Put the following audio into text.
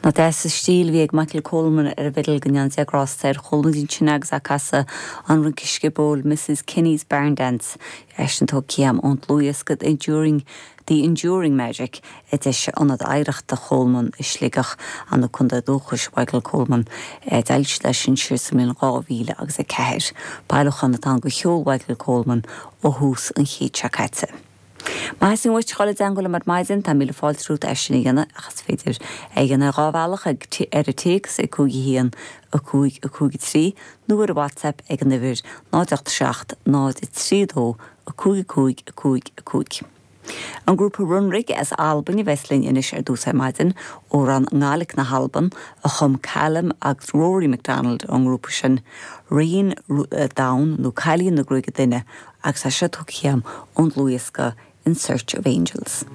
Nach deas an stíl a bhí ag Michael Coleman ar an bhfidil, go ndéana Dia grásta air. Chuala muid ansin agus é ag casadh an rince sciobóil Mrs Kenny's Barn Dance, eisean tógtha agam ón dlúthdhiosca The Enduring The Enduring Magic a d'eisigh Ionad Oidhreachta Cholman i Sligeach, an contae dúchais Michael Coleman. D'fhoilsigh siad é sin siar sa mbliain 2000 agus 4. Bailiúchán atá ann de cheol Mhichael Coleman ó thús an chéid seo caite. Má theastaíonn uait dhul i dteangmháil liom ar maidin, tá míle fáilte romhat é sin a dhéanamh, ach is féidir é a dhéanamh ar dhá bhealach, ag ar an téacs ag 5 1 5 5 3 nó ar an WhatsApp ag an uimhir 0 8 7 0 3 2 5 5 5 5. An grúpa Runrig as Albain a bheas linn anois ar dtús ar maidin, amhrán i nGàidhlig na hAlban a chum Calum agus Rory MacDonald ón ngrúpa sin, Ríon Donn nó Cailín na Gruaige Doinne agus é seo tugtha agam ón dlúthdhiosca In Search of Angels.